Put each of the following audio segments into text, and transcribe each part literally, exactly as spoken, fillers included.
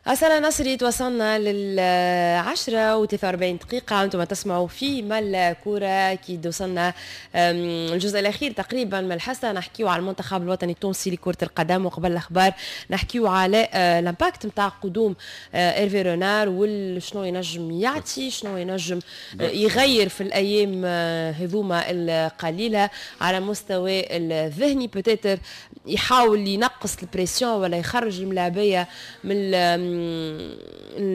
أسألة نصري، توصلنا للعشرة وثلاثة وأربعين دقيقة، أنتم تسمعوا في ملا كورة. أكيد وصلنا الجزء الأخير تقريبا من الحصة، نحكيو على المنتخب الوطني التونسي لكرة القدم، وقبل الأخبار نحكيو على l'impact نتاع قدوم إيرفي رونار وشنو ينجم يعطي، شنو ينجم يغير في الأيام هذوما القليلة على مستوى الذهني، peut-être يحاول ينقص ال pression ولا يخرج الملاعبية من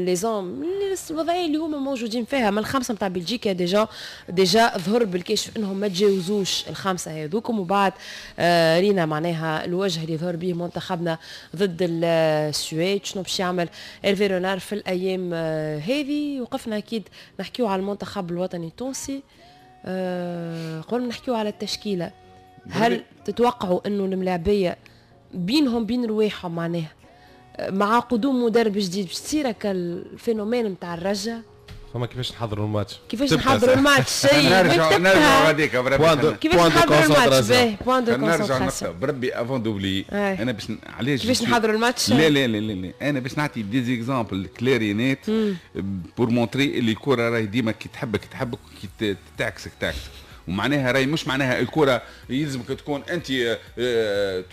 les zones الوضعية اللي هما موجودين فيها. من الخمسة نتاع بلجيكا déjà déjà ظهر بالكشف انهم ما تجاوزوش الخمسة هذوكم، وبعد آه رينا معناها الوجه اللي ظهر به منتخبنا ضد السويد. شنو باش يعمل إيرفي رونار في الايام آه هذه؟ وقفنا اكيد نحكيو على المنتخب الوطني التونسي. آه قبل ما نحكيو على التشكيله، هل تتوقعوا انه الملاعبيه بينهم بين رواحهم معناها مع قدوم مدرب جديد باش تصير هكا ال phénomène نتاع الرجة؟ فما كيفاش نحضروا الماتش؟ كيفاش نحضروا الماتش؟ شيء نرجع نرجع غاديك. كيفاش نحضروا الماتش؟ باهي، point de concentration بربي avant d'oublier. انا باش علاش كيفاش نحضروا الماتش؟ لا لا لا لا، لا. انا باش نعطي des exemples clairs nets pour montrer اللي الكره راهي ديما كي تحبك تحبك، كي تعكسك تعكسك. ومعناها راهي مش معناها الكره يلزمك تكون انت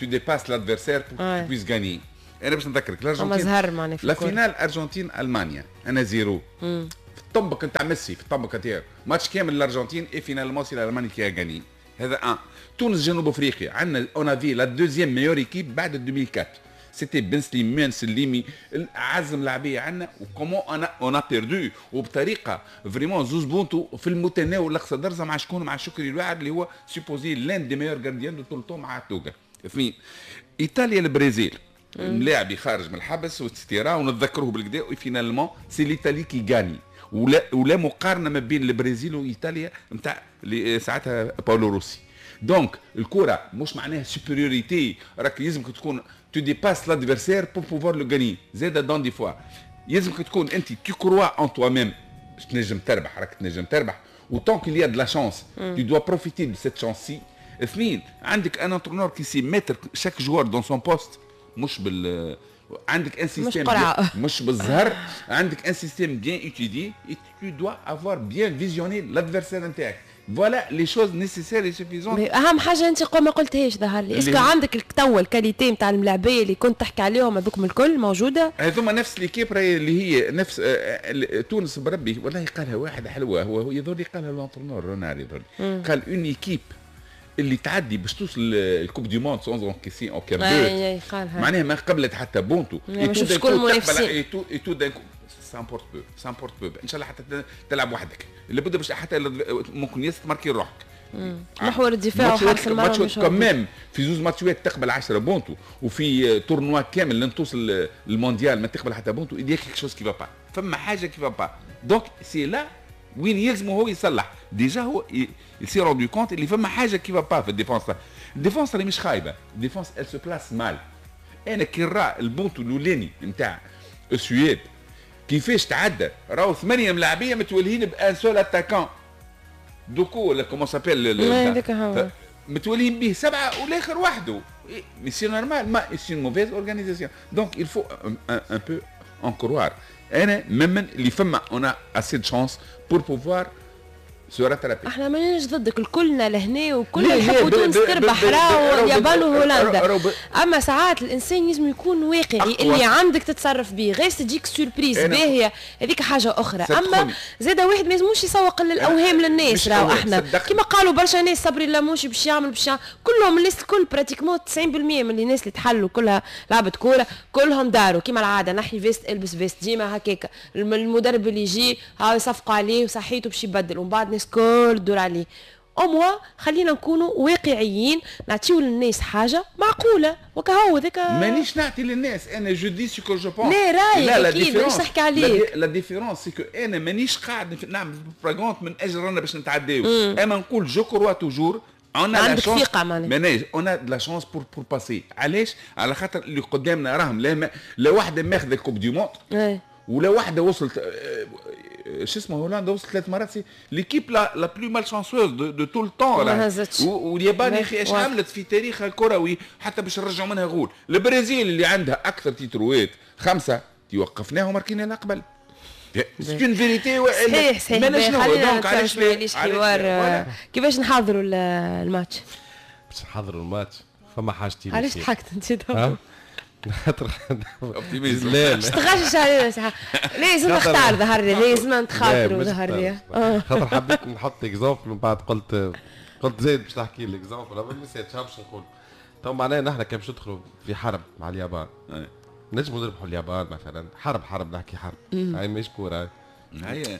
tu dépasses l'adversaire pour puisses gagner. انا باش نذكرك الارجنتين زهر معناها. la finale ارجنتين المانيا un à zéro في الطنبك نتاع ميسي، في الطنبك نتاعو ماتش كامل الارجنتين et finalement c'est l'Allemagne qui a gagné. هذا un. تونس جنوب افريقيا عندنا on avait la deuxième meilleure équipe بعد ألفين وأربعة، c'était بن سليمان سليمي اعز ملاعبيه عندنا، و comment on a on a perdu وبطريقة vraiment زوز بونتو في المتناول الاقصى درجه. مع شكون؟ مع شكري الواعر اللي هو supposé l'un des meilleurs gardiens de tous les temps مع توغا. اثنين، ايطاليا البرازيل، ملاعبي خارج من الحبس و et cetera ونتذكروه بالكدا، و finalement c'est l'Italie qui gagne. ولا ولا مقارنة ما بين البرازيل وايطاليا نتاع ساعتها باولو روسي. donc الكره مش معناها supériorité، راك يلزمك تكون tu dépasses l'adversaire pour pouvoir le gagner. زاد dans des fois يلزمك تكون انت tu crois en toi-même باش تنجم تربح، راك تنجم تربح، و tant qu'il y a de la chance tu dois profiter de cette chance-ci. اثنين، عندك un entraîneur qui sait mettre chaque joueur dans son poste، مش بال عندك un système مش, مش بالزهر، عندك un système bien étudié، tu dois avoir bien visionné l'adversaire نتاعك. voilà les choses nécessaires et suffisantes. اهم حاجة انت ما قلتهاش ظهر لي، est-ce que عندك توا ال qualité نتاع الملاعبيه اللي كنت تحكي عليهم هذوك الكل موجوده؟ هذوما نفس l'équipe اللي هي نفس آه، تونس بربي. والله قالها واحد حلوه، هو هو يظهر لي قالها l'entraîneur رونار يظهر، قال une équipe اللي تعدي باش توصل ال coupe du monde sans encaisser aucun but، معناها ما قبلت حتى بونتو. شكون المنافسين؟ et tout d'un ça importe peu، ça importe peu. ان شاء الله حتى تلعب وحدك، لابد باش حتى ممكن ياسر تماركي روحك. محور الدفاع وحارس المرمى. quand même في زوز ماتشات تقبل عشرة بونتو، وفي tournoi كامل لن توصل المونديال ما تقبل حتى بونتو، il y a quelque chose qui va pas، فما حاجة qui va pas. donc c'est là وين يلزم هو يصلح. déjà هو s'est rendu compte اللي فما حاجة qui va pas في ال défense. ال défense اللي مش خايبه، ال défense elle se place mal. انا كي نرى البونتو الاولاني نتاع السويد كيفاش تعدى، راهو ثمانية ملاعبيه متولهين ب un seul attaquant دوكو ولا comment s'appelle، متولين به سبعة والاخر وحده، mais c'est normal، mais c'est mauvaise organisation. donc il faut un peu en croire. انا ممن اللي فما on a assez de chance pour pouvoir se rattraper. احنا ماناش ضدك، الكلنا لهنا وكلنا نحبوا تونس تربح راهو اليابان وهولندا، اما ساعات الانسان لازم يكون واقعي، اللي عندك تتصرف به، غير تجيك surprise باهيه هذيك حاجة اخرى. اما زاد واحد ما لازموش يسوق للاوهام للناس. راهو احنا كيما قالوا برشا ناس صبري لاموشي باش يعمل باش يعمل، كلهم الناس الكل pratiquement تسعين بالمية من الناس اللي تحلوا كلها لعبت كوره، كلهم داروا كيما العاده، نحي veste البس veste، ديما هكاك. المدرب اللي يجي هاو يصفقوا عليه وصحيته باش يبدل، ومن بعد الناس كل تدور عليه. au moins خلينا نكونوا واقعيين، نعطيو للناس حاجة معقولة وكهو ذاك. مانيش نعطي للناس، انا je dis ce que je pense. لا رايك اكيد، مانيش نحكي عليك. la différence c'est que انا مانيش قاعد نعمل بروباغوند من اجل رانا باش نتعداو، اما نقول je crois toujours. on عندك ثقة معناها. on a la chance pour pour passer. علاش؟ على خاطر اللي قدامنا راهم لا لا واحدة ماخذه ال coupe du monde ولا واحدة وصلت آه، شو اسمه، هولندا وصلت ثلاث مرات، c'est l'équipe la la plus malchanceuse de, de tout le temps. واليابان يا اخي ايش عملت في تاريخها الكروي حتى باش نرجعوا منها غول؟ البرازيل اللي عندها اكثر تيتروات، خمسة وقفناه وماركينا لها قبل. c'est une vérité. صحيح صحيح. خلينا علاش ليش حوار كيفاش نحضروا الماتش؟ باش نحضروا الماتش فما حاجتين. علاش ضحكت انت؟ خاطر لا تغشش علينا صح. لازم نختار ظهر لي، لازم نتخاطروا ظهر لي. خاطر حبيت نحط exemple من بعد قلت قلت زيد باش تحكي لي exemple ما نسيتش باش نقول. تو معناها نحن كان باش ندخلوا في حرب مع اليابان نجموا نربحوا اليابان مثلا، حرب حرب نحكي حرب هاي مش كورة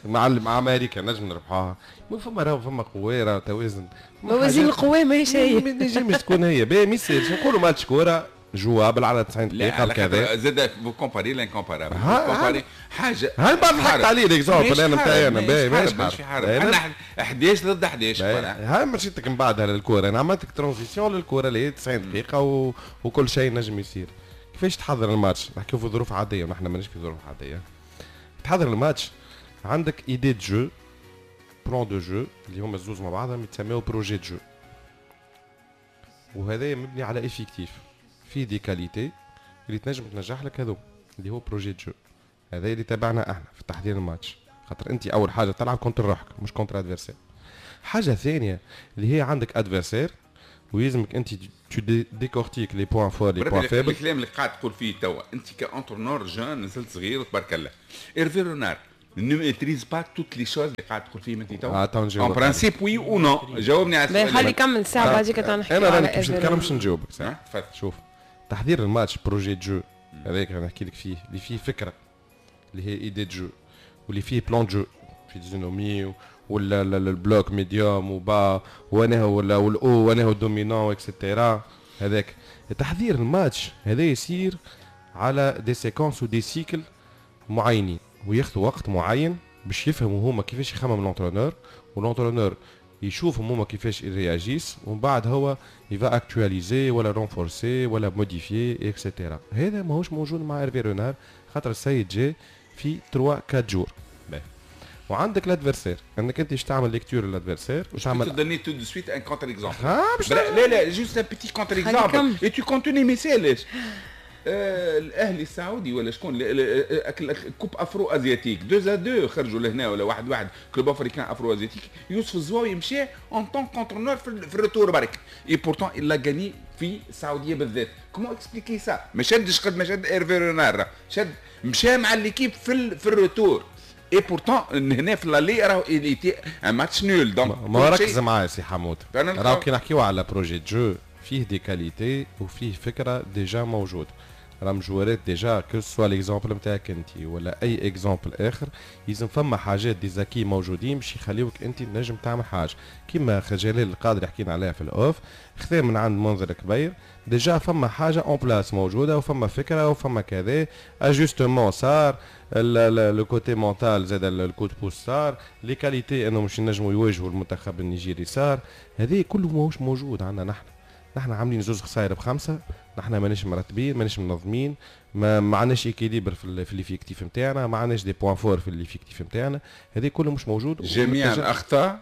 مع مع امريكا نجم نربحوها. مو فما راهو فما قوة، راهو توازن موازين القوى ماهيش هي، ما تنجمش تكون هي. باهي ما يصيرش نقولوا ماتش كورة jouable على تسعين دقيقة كذا. زاد vous comparez l'incomparable، comparez حاجة هاي بعد ضحكت عليه l'exemple انا نتاعي انا. باهي ماشي في حرب، عندنا احداش ضد احداش. هاي مشيتك من بعدها للكورة، انا عملتك transition للكورة اللي هي تسعين دقيقة و... وكل شيء نجم يصير. كيفاش تحضر الماتش؟ نحكيو في ظروف عادية ونحن ماناش في ظروف عادية. تحضر الماتش عندك idée de jeu، plan de jeu اللي هما الزوز مع بعضهم يتسميو projet de jeu، وهذا مبني على effectif فيه des qualités اللي تنجم تنجح لك هذو اللي هو projet de jeu. هذا اللي تابعنا احنا في تحضير الماتش، خاطر انت اول حاجة تلعب contre روحك مش contre adversaire. حاجة ثانية اللي هي عندك adversaire ويلزمك انت tu décortiques les points forts les points faibles. الكلام اللي قاعد تقول فيه توا انت ك entraîneur jeune نزلت صغير وتبارك الله، Hervé Renard ne maîtrise pas toutes les choses اللي قاعد تقول فيهم انت توا. en principe oui ou non؟ جاوبني على السؤال. خلي يكمل ساعة بعديك نحكي. انا راني باش نتكلم باش نجاوبك. تفضل. شوف تحضير الماتش projet de jeu هذاك اللي نحكي لك فيه، اللي فيه فكرة اللي هي idée de jeu، واللي فيه plan de jeu physionomie ولا ال bloc médium و bas وانا هو وال haut وانا هو dominant et cetera. هذاك تحضير الماتش هذا يصير على des séquences و des cycles معينين وياخذوا وقت معين باش يفهموا هما كيفاش يخمم l'entraîneur، و l'entraîneur يشوفهم هما كيفاش يرياجيس، ومن بعد هو il va actualiser ولا renforcer ولا modifier et cetera. هذا ماهوش موجود مع Hervé Renard خاطر السيد جاي في ثلاثة أربعة jours. وعندك l'adversaire انك انت باش تعمل lecture l'adversaire وتعمل donner tout de suite un contre-exemple. لا لا juste un petit contre-exemple et tu continues ما يسالش. الاهلي السعودي ولا شكون coupe afro-asiatique deux à deux خرجوا لهنا ولا واحد واحد Club Africain afro-asiatique، يوسف الزواوي مشى en tant qu'entraîneur في ال retour برك et pourtant il a gagné في السعودية بالذات. comment expliquer ça؟ ما شدش قد ما شد Hervé Renard، شد مشى مع l'équipe في في ال retour et pourtant هنا في l'aller راهو il était un match nul. donc ما ركز معايا سي حمود، راهو كي نحكيو على projet de jeu فيه des qualités وفيه فكرة déjà موجود، راهم جوارات déjà que ce soit l'exemple نتاعك انت ولا اي exemple اخر، لازم فما حاجات des acquis موجودين باش يخليوك انت تنجم تعمل حاجة كيما جلال القادري حكينا عليها في ال off، خذا من عند منظر كبير déjà فما حاجة en place موجودة وفما فكرة وفما كذا ajustement صار، le côté mental زاد ال coup de pouce صار، les qualités انه مش ينجموا يواجهوا المنتخب النيجيري صار، هذه كله ماهوش موجود عندنا نحن. نحن عاملين زوز خسائر بخمسة، نحن ماناش مرتبين ماناش منظمين، ما ما عندناش équilibre في في l'effectif نتاعنا، ما عندناش des points forts في l'effectif نتاعنا، هذه كله مش موجود. جميع الاخطاء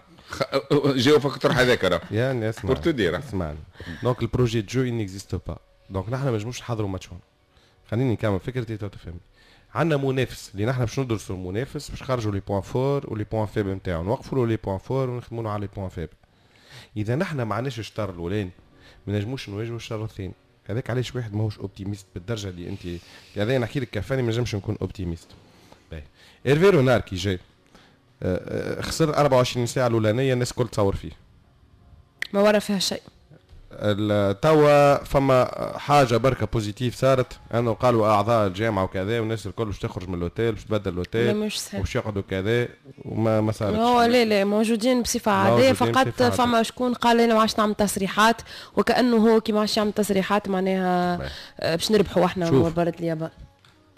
جاو في الطرح هذاك راه يعني اسمع pour te dire اسمعني. donc ال projet de jeu n'existe pas، donc نحن ما نجموش نحضروا ماتش هون. خليني نكمل فكرتي تو تفهمني. عندنا منافس اللي نحن باش ندرسوا المنافس باش نخرجوا les points forts و les points faibles نتاعو، نوقفوا له les points forts ونخدموا على les points faibles. اذا نحن ما عندناش الشطر الاولاني ما نجموش نواجهوا الشطر الثاني. هذاك علاش واحد ماهوش optimiste بالدرجة اللي انت هذا نحكي لك كفاني ما نجمش نكون optimiste. باهي Hervé Renard كي جاي خسر أربعة وعشرين ساعة الاولانية الناس الكل تصور فيه ما ورا فيها شيء. توا فما حاجة بركة positive صارت انه قالوا اعضاء الجامعة وكذا والناس الكل باش تخرج من l'hôtel باش تبدل l'hôtel وباش يقعدوا كذا وما ما صارتش. هو لا لا موجودين بصفة عادية فقط بصفة فما شكون قال انا ما عادش نعمل تصريحات وكانه هو كي ما عادش يعمل تصريحات معناها باش نربحوا احنا مباراة اليابان.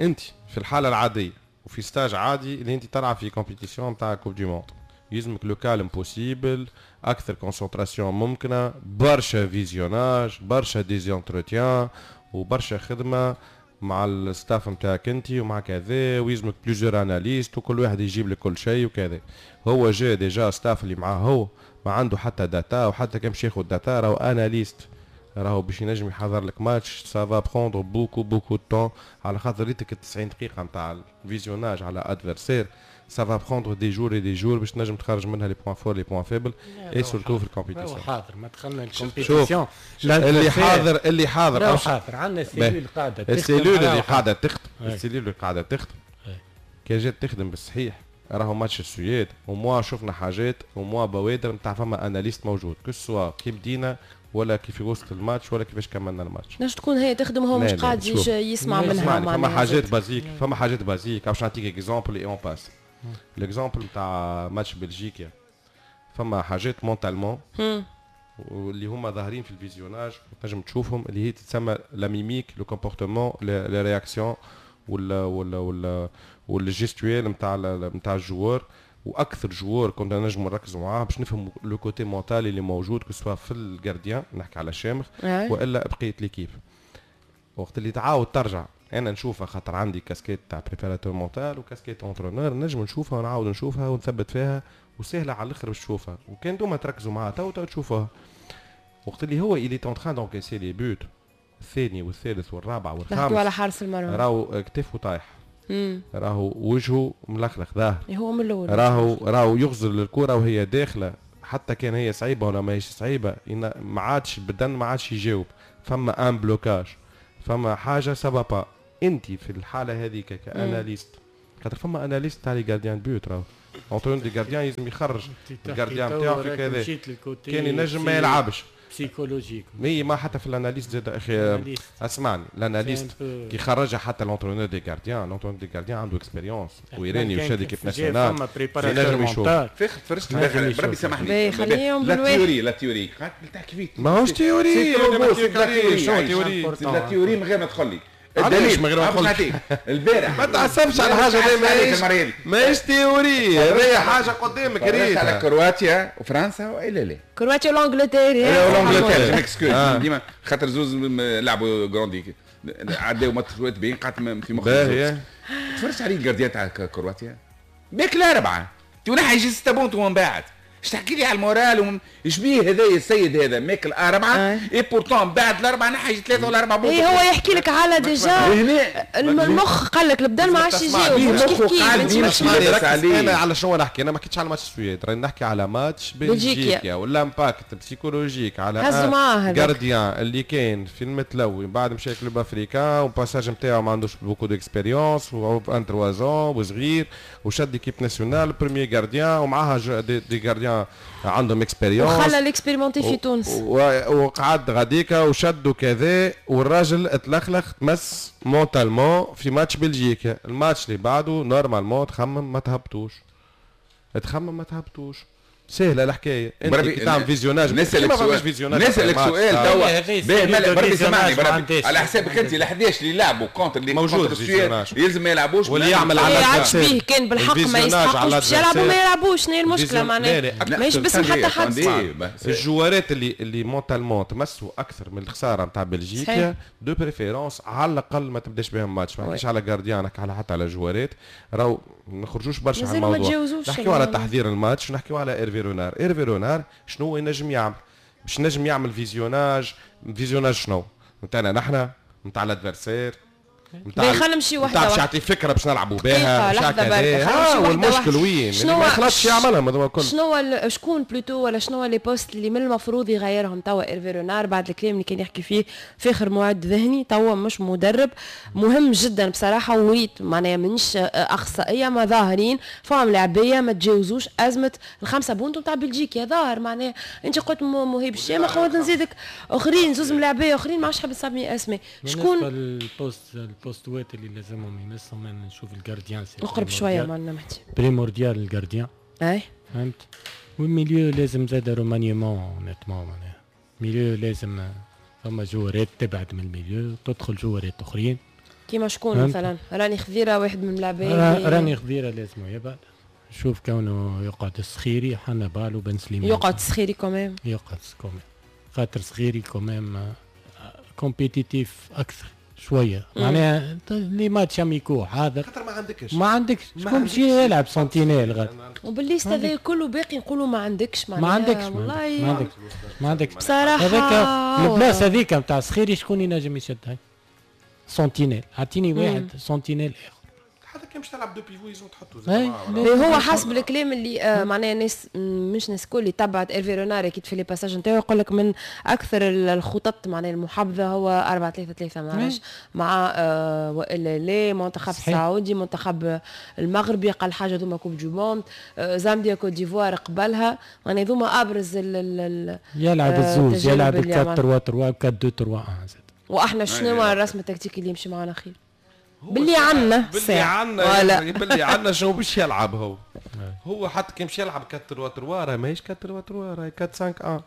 انت في الحالة العادية وفي stage عادي اللي انت تلعب في compétition نتاع coupe du monde يلزمك le calme possible، اكثر concentration ممكنة، برشا visionnage، برشا des entretiens وبرشا خدمة مع ال staff نتاعك انت ومع كذا، ويلزمك plusieurs analystes وكل واحد يجيب لك كل شيء وكذا. هو جا déjà staff اللي معاه هو ما عنده حتى data، وحتى كان باش ياخذ data راهو analyste راهو باش ينجم يحضر لك match ça va prendre beaucoup beaucoup de temps، على خاطر ريتك تسعين دقيقة نتاع ال visionnage على adversaire، ça va prendre des jours et des jours باش تنجم تخرج منها les points forts، les points faibles، et surtout في ال compétition. حاضر، ما دخلنا ال compétition. اللي حاضر، اللي حاضر حاضر، عندنا cellule قاعده. ال cellule اللي قاعدة تخدم، ال cellule اللي قاعدة تخدم كان جات تخدم بالصحيح راهو ماتش السويد au moins شفنا حاجات، au moins بوادر نتاع فما analyste موجود، que ce soit كي بدينا ولا كيف وصلت الماتش ولا كيفاش كملنا الماتش. نجم تكون هي تخدم هو مش قاعد يسمع منها. فما حاجات basiques، فما حاجات basiques. باش نعطيك exemple et on passe، l'exemple نتاع ماتش بلجيكا، فما حاجات mentalement واللي هما ظاهرين في ال visionnage تنجم تشوفهم، اللي هي تتسمى la mimique، le comportement، les réactions ولا ولا ولا وال gestuelle نتاع نتاع ال joueur. واكثر joueur كنا نجموا نركزوا معاه باش نفهموا le côté mental اللي موجود، que ce soit في ال gardien، نحكي على الشامخ، والا بقية l'équipe. وقت اللي تعاود ترجع، انا نشوفها خاطر عندي كاسكيت تاع préparateur mental و casquette entraîneur، نجم نشوفها ونعاود نشوفها ونثبت فيها، وسهلة على الاخر باش تشوفها، وكان انتوما تركزوا معاها تو تو تشوفوها. وقت اللي هو il est en train d'encaisser les buts، الثاني والثالث والرابع والخامس، نحكيو على حارس المرمى، راهو كتفه طايح، راهو وجهه ملخلخ ظاهر. هو من الاول راهو راهو يغزر للكرة وهي داخله، حتى كان هي صعيبة ولا ماهيش صعيبه، ما عادش البدن ما عادش يجاوب، فما un blocage، فما حاجة ça va pas. انت في الحالة هذيك ك analyste، خاطر فما analyste تاع les gardiens de but، راهو entraîneur des gardiens لازم يخرج ال gardien نتاعو في كذا، كان ينجم ما يلعبش. psychologique. mais ما حتى في ال analyste زاد اخي، اسمعني، ال analyste كي خرجها حتى l'entraîneur des gardiens، l'entraîneur des gardiens عنده expérience ويراني وشاد équipe nationale، ينجم يشوف. فاخر تفرجت، بربي سامحني، خليهم la théorie، la théorie تحكي فيه. ماهوش théorie. شنو théorie؟ la théorie من غير ما تدخل لي. الدليل من غير ما تدخل البارح. ما تعصبش على حاجه، ماهيش ماهيش théorie، هذه حاجة قدامك. ريت على كرواتيا وفرنسا والا لا؟ كرواتيا والانجلترا. والانجلترا، je m'excuse، ديما خاطر زوز لعبوا grande عداو ماتشات باين قعدت في مخي. تفرجت عليه ال gardien تاع كرواتيا ماكل اربعه، تنحي يجي ستة بونت ومن بعد اش تحكي لي على ال moral؟ ايش بيه هذا السيد هذا ماكل اربعه، et pourtant بعد الاربعة نحي ثلاثة ولا اربعة. اي هو يحكي لك على déjà المخ، قال لك البدن ما عادش يجاوب. مش كيف كيف. انا على شنو نحكي؟ انا ما حكيتش على ماتش السويد، راني نحكي على ماتش بلجيكا وال impact psychologique على gardien اللي كان في المتلوي، بعد مشى Club Africain و passage نتاعو ما عندوش beaucoup d'expérience و vingt-trois ans وصغير، وشد équipe nationale premier gardien ومعاها des, des gardiens عندهم expérience. وخلى l'expérimenté في تونس. وقعد غاديكا وشدوا كذا، والراجل اتلخلخ، تمس mentalement في ماتش بلجيكا. الماتش اللي بعده normalement تخمم ما تهبطوش، تخمم ما تهبطوش. سهلة الحكايه، انت كي تعمل visionnage. نسالك سؤال، نسالك سؤال توا بربي سامحني، بربي على حسابك انت ال حداش اللي لعبوا contre اللي موجود يلزم ما يلعبوش؟ واللي يعمل على يلعبش بيه كان بالحق ما يستحقوش باش يلعبوا، ما يلعبوش. شنو هي المشكلة معناها؟ ماهيش باسم حتى حد. الجوارات اللي اللي mentalement تمسوا اكثر من الخسارة نتاع بلجيكا، de préférence على الاقل ما تبداش بهم ماتش. ما نحكيش على gardien، نحكي على حتى على جوارات. راهو ما نخرجوش برشا على الموضوع، نحكيو على تحضير الماتش، نحكيو على ايرفي رونار. ايرفي رونار شنو ينجم يعمل باش نجم يعمل visionnage؟ visionnage شنو نتاعنا نحن، نتاع l'adversaire؟ نتاع خلينا نمشي واحدة واحده، باش يعطي فكرة باش نلعبوا بها. لحظة برك. ها والمشكل وين؟ شنو ما يخلطش يعملها هذوما الكل. شنو شكون plutôt ولا شنو les postes اللي من المفروض يغيرهم توا ايرفي رونار بعد الكلام اللي كان يحكي فيه فاخر؟ معد ذهني توا مش مدرب، مهم جدا بصراحه. وريت معناها مانيش اخصائيه، ما ظاهرين فهم لاعبيه ما تجاوزوش ازمة الخمسة بونتو نتاع بلجيكا. ظاهر معناها انت قلت مهيب الشامخ نزيدك اخرين، زوز ملاعبيه اخرين ما عادش حاب نسمي اسماء. شكون ال poste البوستوات اللي لازمهم يمسهم؟ انا نشوف ال gardien. اقرب شوية معنا مهدي. primordial ال gardien. اي. فهمت، وال milieu لازم زاد remaniement honnêtement، معناها milieu لازم فما جوارات تبعد من ال milieu، تدخل جوارات اخرين. كيما شكون مثلا؟ راني خذيره واحد من اللاعبين. راني خذيره لازم يبعد، شوف كونه يقعد السخيري، حنبال وبن سليمان. يقعد السخيري quand même. يقعد quand même، خاطر سخيري quand même compétitif اكثر. شوية معناها les matchs amicaux حاضر، خاطر ما عندكش ما عندكش شكون باش يلعب sentinelle غادي. وبال liste هذا كله باقي نقولوا ما عندكش، ما عندكش والله ما عندكش ما عندكش بصراحة. هذاك البلاصة هذيك نتاع صخيري شكون ينجم يشدها؟ sentinelle، اعطيني واحد sentinelle اخر. حتى كان باش تلعب deux pivots يلزم تحطوا زي هو حسب الكلام اللي آه معناها ناس مش ناس كل اللي تبعت ايرفي رونار اكيد في les passages نتاعو يقول لك من اكثر الخطط معناها المحبذه هو أربعة ثلاثة ثلاثة ما عرفش مع آه والا لا منتخب السعودي، منتخب المغربي اقل حاجة ذوما coupe du monde، آه زامبيا، كوت ديفوار قبلها، معناها ذوما ابرز ال يلعب الزوز، يلعب أربعة ثلاثة ثلاثة أربعة اثنين ثلاثة واحد. واحنا شنو الرسم التكتيكي اللي يمشي معنا خير؟ باللي عندنا باللي عندنا باللي عندنا شنو باش يلعب هو؟ هو حتى كي مشي يلعب أربعة ثلاثة ثلاثة راه ماهيش أربعة ثلاثة ثلاثة، راهي أربعة خمسة واحد.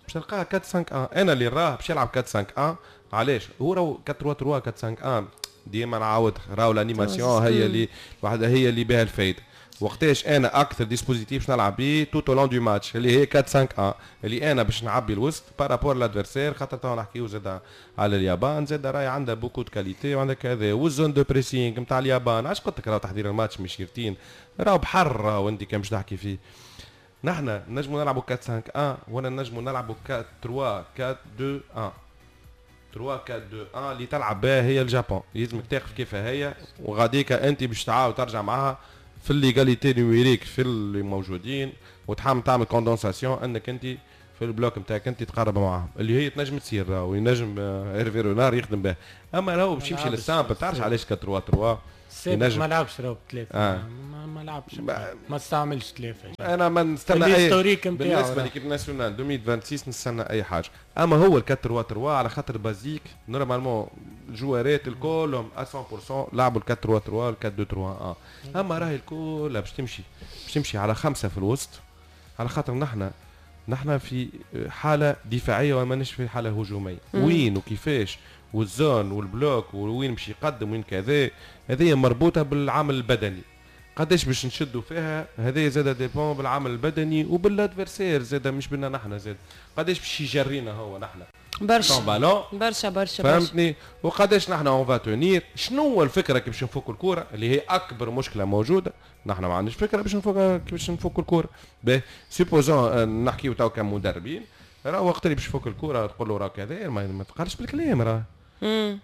باش تلقاها أربعة خمسة واحد. انا اللي راه باش يلعب أربعة خمسة واحد. علاش؟ هو راهو أربعة ثلاثة ثلاثة أربعة خمسة واحد ديما نعاود راهو l'animation هي اللي وحده هي اللي بها الفايدة. وقتاش انا اكثر dispositif باش نلعب بيه tout au long du match اللي هي أربعة خمسة واحد اللي انا باش نعبي الوسط par rapport l'adversaire، خاطر تو نحكيو زاد على اليابان، زاد راهي عندها beaucoup de qualités وعندها كذا، وال zone de pressing نتاع اليابان. علاش قلت لك راهو تحضير الماتش مش روتين، راهو بحر، راهو انت كان باش تحكي فيه. نحن نجمو نلعبوا أربعة خمسة واحد ولا نجمو نلعبوا أربعة ثلاثة أربعة اثنين واحد. ثلاثة أربعة اثنين واحد اللي تلعب بها هي الجابون، يلزمك تاخذ كيف هي وغاديك انت باش تعاود ترجع معاها في l'égalité numérique في اللي موجودين، وتحاول تعمل condensation انك انت في ال bloc نتاعك انت تقرب معاهم اللي هي تنجم تصير وينجم ايرفي رونار يخدم بها. اما راهو باش يمشي لل simple، تعرفش علاش أربعة ثلاثة ثلاثة ما لعبش راهو ثلاثة آه. ما, ما لعبش ما, ما استعملش ثلاثة. انا ما نستنى اي بالنسبة l'équipe nationale ألفين وستة وعشرين نستنى اي حاجة. اما هو ال أربعة ثلاثة ثلاثة على خاطر basique normalement الجوارات الكلهم مية بالمية لعبوا ال أربعة ثلاثة ثلاثة أربعة اثنين ثلاثة واحد. اما راهي الكل باش تمشي باش تمشي على خمسة في الوسط، على خاطر نحن نحن في حاله دفاعية وماناش في حاله هجومية. وين وكيفاش وال zone وال bloc وين باش يقدم وين كذا، هذه مربوطة بالعامل البدني. قداش باش نشدوا فيها هذا زاد dépend بالعامل البدني وبال adversaire زاد، مش بنا نحن زاد قداش باش يجرينا هو نحن برشا برشا برشا فهمتني، وقداش نحن on va tenir. شنو هو الفكرة كيف باش نفكوا الكورة اللي هي اكبر مشكلة موجودة، نحن ما عندناش فكرة باش نفك كيفاش نفكوا الكورة. باهي supposons نحكيو تو كمدربين، راه وقت اللي باش يفك الكورة تقول له راه كذا، ما تقالش بالكلام، راه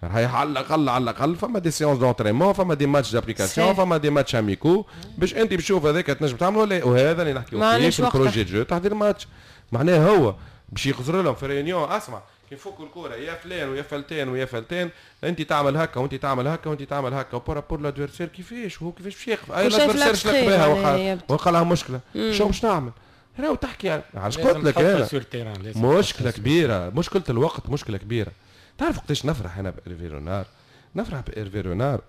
راهي على الاقل على الاقل فما des séances d'entraînement، فما des matchs d'application، فما des matchs amicaux باش انت بتشوف هذاك تنجم تعمل ولا. وهذا اللي نحكيو فيه في ال projet de jeu تحضير الماتش، معناه هو باش يخزر لهم في réunion، اسمع كي يفكوا الكورة يا فلان ويا فلتان ويا فلتان، انت تعمل هكا وانت تعمل هكا وانت تعمل هكا، و par rapport l'adversaire كيفاش هو كيفاش باش يقف اي l'adversaire شلق بها وقع لها مشكلة، شو باش نعمل؟ راهو تحكي علاش قلت لك انا مشكلة كبيرة، مشكلة الوقت مشكلة كبيرة. تعرف وقتاش نفرح انا بإيرفي رونار؟ نفرح بإيرفي رونار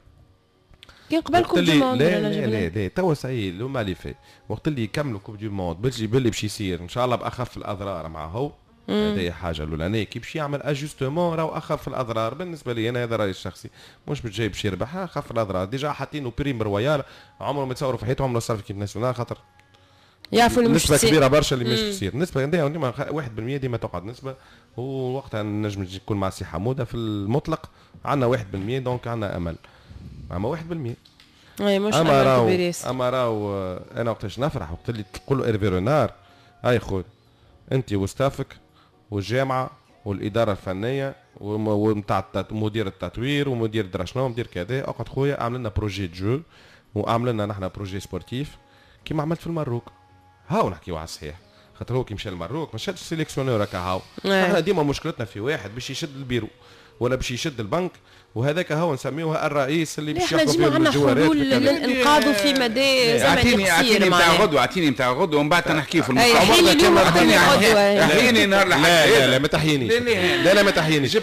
كان قبل coupe du monde. لا لا لا لا توا ça y est le mal est fait، وقت اللي يكملوا coupe du monde باللي باللي باش يصير ان شاء الله باخف الاضرار مع هو، هذه حاجة الاولانية. كي باش يعمل ajustement راهو اخف الاضرار بالنسبة لي انا، هذا رايي الشخصي، مش باش باش يربحها اخف الاضرار. déjà حاطينه prime royale عمره ما تصوروا في حياته، عمره صار في équipe nationale، خاطر يعرفوا اللي مش نسبه كبيرة برشا اللي مش تصير، نسبه ديما واحد بالمية ديما تقعد نسبه، ووقتها نجم يكون مع سي حموده في المطلق عندنا واحد بالمية، donc عندنا امل، اما واحد بالمية اي مش امل كبير ياسر. اما راهو انا وقتاش نفرح وقت اللي تقول له ايرفي رونار هاي خويا انت و staff ك والجامعة والادارة الفنية ونتاع مدير التطوير ومدير درا شنو ومدير كذا، اقعد خويا اعمل لنا projet de jeu واعمل لنا نحن projet sportif كيما عملت في المروك. هاو نحكيو على الصحيح، خاطر هو كي مشى للمروك ما شدش sélectionneur هكا هاو. احنا ديما مشكلتنا في واحد باش يشد البيرو ولا باش يشد البنك، وهذاك هو نسميوه الرئيس اللي باش ياخذ فيه الجوارات. حلول للانقاذ في مدى زمني قصير. اعطيني نتاع غدوه، اعطيني نتاع غدوه ومن بعد نحكي في المستقبل. احييني نهار لا لا لا ما تحيينيش، لا لا ما تحيينيش،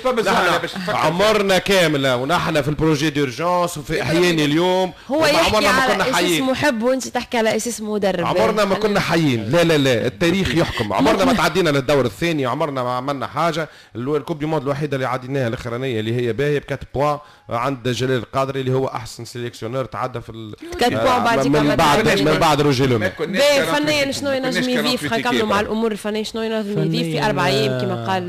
عمرنا كاملة ونحن في ال projet d'urgence وفي احياني اليوم. هو يحكي على اساس محب وانت تحكي على اساس مدرب. عمرنا ما كنا حيين، لا لا لا التاريخ يحكم. عمرنا ما تعدينا للدور الثاني، عمرنا ما عملنا حاجة. ال coupe du monde الوحيدة اللي عديناها الاخرانية اللي هي باهيه ب أربعة points عند جلال القادري اللي هو احسن sélectionneur تعدى في ال quatre points بعد من بعد من بعد روجي لومي. فنيا شنو ينجم يضيف؟ خلينا نكملوا مع الامور الفنية، شنو ينجم يضيف في اربع ايام كما قال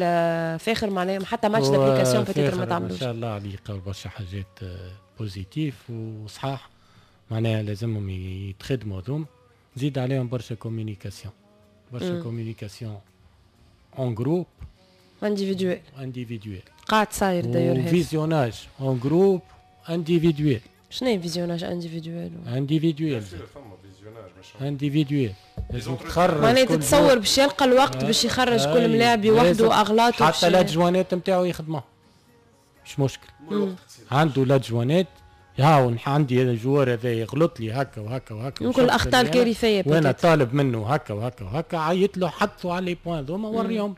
فاخر؟ معناها حتى match d'application peut-être ما تعملوش. ما شاء الله عليه، قال برشا حاجات positives وصحاح، معناها لازمهم يتخدموا هذوم. زيد عليهم برشا communication، برشا communication en groupe individuel. individuel. قاعد صاير d'ailleurs. visionnage en groupe individuel. شنو هي visionnage individuel؟ individuel individuel لازم تخرج، معناها تتصور باش يلقى الوقت باش يخرج كل ملاعب وحده اغلاطه. حتى l'adjoint ات نتاعو يخدموه مش مشكل، عنده l'adjoint ات هاو عندي هذا ال joueur هذا يغلط لي هكا وهكا وهكا، يمكن الاخطاء الكارثية وانا طالب منه هكا وهكا وهكا، عيط له حطوا على les points ذوما وريهم.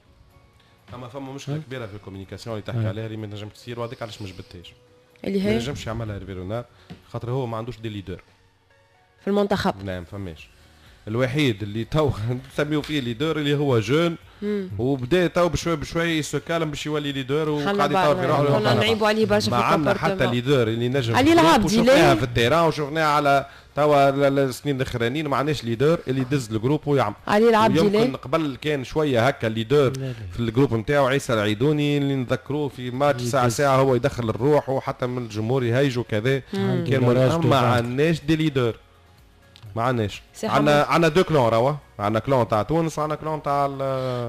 اما فما مشكلة كبيرة في ال communication اللي تحكي عليها اللي ما تنجمش تصير، وهذاك علاش ما جبدتهاش. اللي هي ما نجمش يعملها هيرفي رونار خاطر هو ما عندوش des leaders في المنتخب. نعم فماش. الوحيد اللي تو نسميو فيه leader اللي هو jeune، وبدا تو بشوي بشوي se calme باش يولي leader وقاعد يطور في روحه. كنا نعيبوا عليه برشا في ما عندنا حتى leader اللي نجم علي العابدي شفناها في ال terrain وشفناها على توا السنين الاخرانيين، ما عندناش leader اللي يدز ال groupe ويعمل. علي العابدي يمكن قبل كان شوية هكا leader في ال groupe نتاعو عيسى العيدوني اللي نذكروه في ماتش ساعة ساعة هو يدخل الروح وحتى من الجمهور يهيج وكذا. كان ما عندناش des leaders، ما عندناش. عندنا عندنا deux clans راهو، عندنا clan تاع تونس وعندنا clan تاع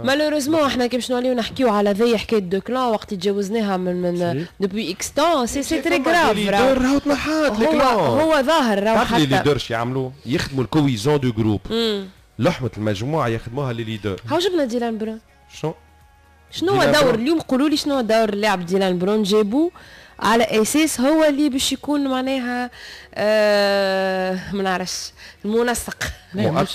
malheureusement احنا كي باش نوليو نحكيو على ذي حكاية deux clans وقت تجاوزناها من من depuis X temps c'est c'est très grave. راهو تنحات les clans، هو ظاهر راهو حتى les leaders يعملوا يخدموا ال cohésion du groupe، لحمه المجموعة يخدموها les leaders. هاو جبنا ديلان برون، شنو شنو هو دور اليوم؟ قولوا لي شنو دور اللاعب ديلان برون؟ جابوه على اساس هو اللي باش يكون معناها آه ما نعرفش المنسق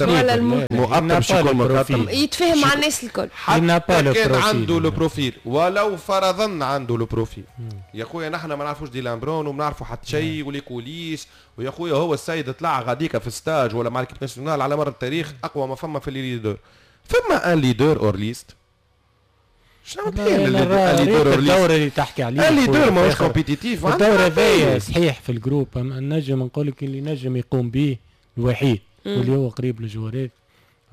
ولا المؤطر باش يكون يتفاهم مع الناس الكل. حتى كان عنده le profil، ولو فرضا عنده le profil يا خويا نحن ما نعرفوش ديلان برون وما نعرفوا حتى شيء و les coulisses، ويا خويا هو السيد طلع غاديكا في stage ولا مع l'équipe nationale على مر التاريخ اقوى ما فما في les leaders. فما un leader hors liste. شنو الدور اللي تحكي عليه؟ ال leader ماهوش compétitif. الدور هذايا صحيح في ال groupe نجم نقول لك اللي نجم يقوم به الوحيد واللي هو قريب للجوارات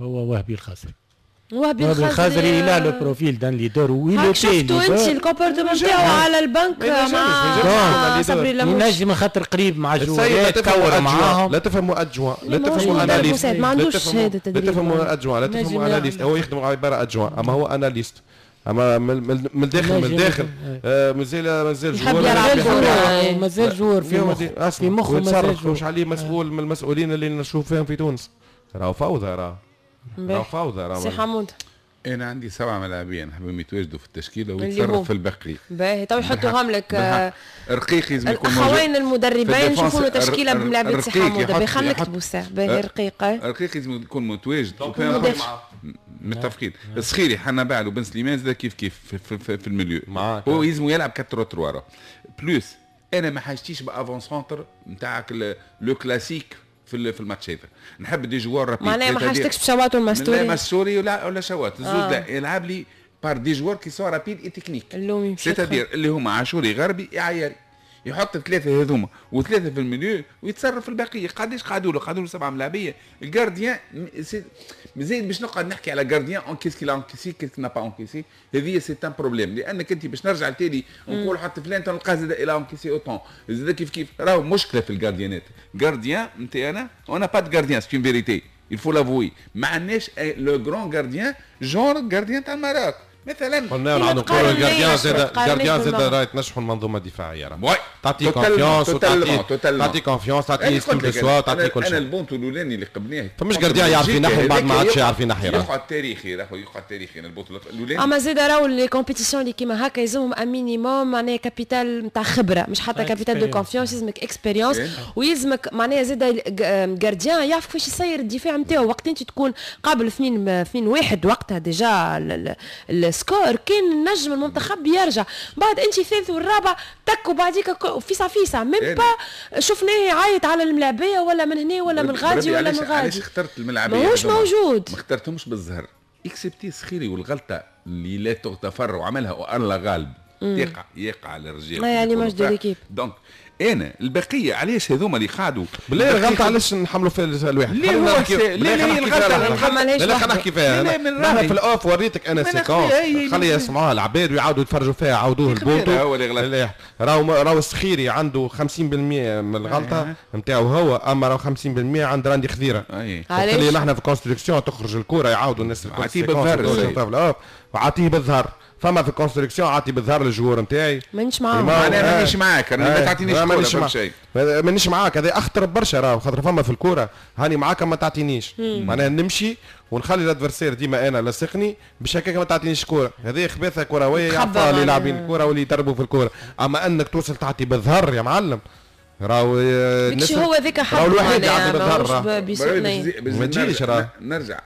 هو وهبي الخزري. وهبي الخزري il a le profil d'un leader ويلو شفتوا انت ال comportement تاعو على البنك مع صبري لموش، ينجم خاطر قريب مع الجوارات كور معاهم. لا تفهموا adjoint، لا تفهموا analyste، ما عندوش شهادة تدريب، لا تفهموا adjoint، لا تفهموا analyste. هو يخدم عبارة adjoint اما هو analyste، اما من الداخل من الداخل مازال مازال joueur، مازال joueur في مخ في مخه، مازال joueur مش عليه مسؤول من المسؤولين اللي نشوف فيهم في تونس. راهو فوضى، راهو راهو فوضى. راهو سي حمود انا عندي سبعة ملاعبين نحبهم يتواجدوا في التشكيلة ويتصرف في البقية. باهي تو يحطوهم لك رقيق لازم يكون موجود. الاخوين المدربين نشوفوا له تشكيله بملاعبيه سي حمود. باهي خلينا نكتبوا الساعة. باهي رقيق رقيق لازم يكون متواجد متفقين. الصخيري حنبعل وبن سليمان زاد كيف كيف في, في, في, في ال milieu هو لازم يلعب أربعة ثلاثة plus. انا ما حاجتيش ب avant-centre نتاعك le classique في في الماتش هذا، نحب des joueurs rapides. معناها ما حاجتكش بشواط والمستوري؟ لا مستوري ولا ولا شواط الزوز آه. لا يلعب لي par des joueurs qui sont rapides et techniques، c'est-à-dire اللي هما عاشوري غربي عياري، يحط ثلاثة هذوما وثلاثة في ال milieu ويتصرف في البقية. قداش قعدوا له؟ قعدوا له سبعة ملاعبيه. ال gardien مزيد باش نقعد نحكي على gardien en qu'est-ce qu'il a encaissé qu'est-ce qu'il n'a pas encaissé، هذه c'est un problème، لانك انت باش نرجع لتالي نقول حط فلان تلقاه زاد il a encaissé autant زاد كيف كيف. راهو مشكلة في ال gardien ات. gardien نتاعنا on n'a pas de gardien، c'est une vérité il faut l'avouer. ما عندناش le grand gardien genre gardien تاع المراك مثلا. قلنا نعاودوا نقولوا ال gardien زاد ال gardien زاد راهي تنجحوا المنظومة الدفاعية، راه تعطي confiance وتعطي تعطي confiance، تعطي estime de soi، تعطي كل شيء. انا البونتو الاولاني اللي قبلناه فمش gardien يعرف ينحي بعد ما عادش يعرف ينحي، يقعد تاريخي، راهو يقعد تاريخي انا البونتو الاولاني. اما زاد راهو les compétitions اللي كيما هكا يلزمهم un minimum معناها capital نتاع خبره، مش حتى capital de confiance، يلزمك expérience ويلزمك معناها زاد gardien يعرف كيفاش يسير الدفاع نتاعو. وقت انت تكون قابل اثنين اثنين واحد وقتها déjà ال score كان نجم المنتخب يرجع، بعد انت الثالث والرابع تك وبعديك فيسع فيسع même pas شفناه يعيط على الملاعبيه ولا من هنا ولا من غادي ولا من غادي. علاش اخترت الملاعبيه؟ ماهوش موجود، ما اخترتهمش بالزهر excepté سخيري والغلطة اللي لا تغتفر وعملها والله غالب. يقع يقع على الرجال يعني match de l'équipe. donc انا البقية علاش هذوما اللي قعدوا بالله الغلطة علاش نحملوا فيها الواحد؟ ليه هو ليه ليه الغلطة لا خلينا نحكي فيها انا في ال off وريتك انا séquence خلي يسمعوها العباد ويعاودوا يتفرجوا فيها عاودوه البوتو هو اللي غلط. راهو راهو السخيري عنده خمسين بالمية من الغلطة نتاعو هو، اما راهو خمسين بالمية عند راندي خذيره. اللي نحن في construction تخرج الكره يعاودوا الناس الكل عطية بالظهر وعطية بالظهر. فما في construction عطي بالظهر لل joueur نتاعي. مانيش معاك انا مانيش معاك، انا ما تعطينيش كورة شيء مانيش معاك. هذا اخطر برشا راهو، خاطر فما في الكورة هاني معاك ما تعطينيش، معناها نمشي ونخلي ال adversaire ديما انا لاصقني باش هكاك ما تعطينيش كورة. هذه خباثه كروية يعرفها اللي لاعبين الكورة واللي يدربوا في الكورة. اما انك توصل تعطي بالظهر يا معلم راهو مش هو ذاك حد الوحيد يعطي بالظهر ما تجيش. راه نرجع